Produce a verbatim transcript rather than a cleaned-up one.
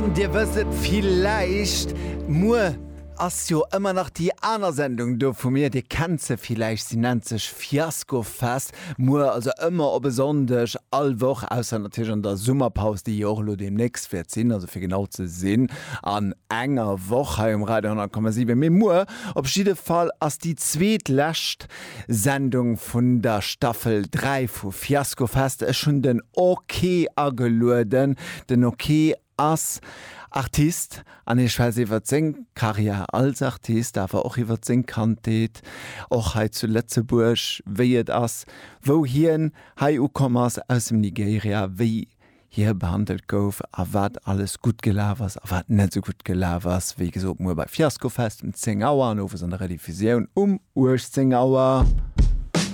Dir wësst et villäicht, muer ass jo ëmmer nach déi aner Sendung do vu mir, Dir kennt se villäicht, si nennt sech Fiaskofest. Muer, also ëmmer op e Sonndeg all Woch, ausser natierlech an der Summerpaus, déi jo och elo deemnächst wäert sinn, also fir genau ze sinn an enger Woch hei um Radio honnert Komma siwen. Mee muer op jidde Fall ass déi zweetlescht Sendung vun der Staffel dräi vu Fiaskofest. Ech hunn den Ok agelueden. Den Ok ass Artist an hie schwätzt iwwert seng Karriär als Artist, awer och iwwert seng Kandheet, och hei zu Lëtzebuerg, wéi et ass, wou hien hei ukomm ass aus dem Nigeria, wéi hie behandelt gouf a wat alles gutt gelaf ass a wat net esou gutt gelaf ass. Wéi gesot, muer bei Fiaskofest um zéng Auer an owes an der Rediffusioun um uechtzéng Auer.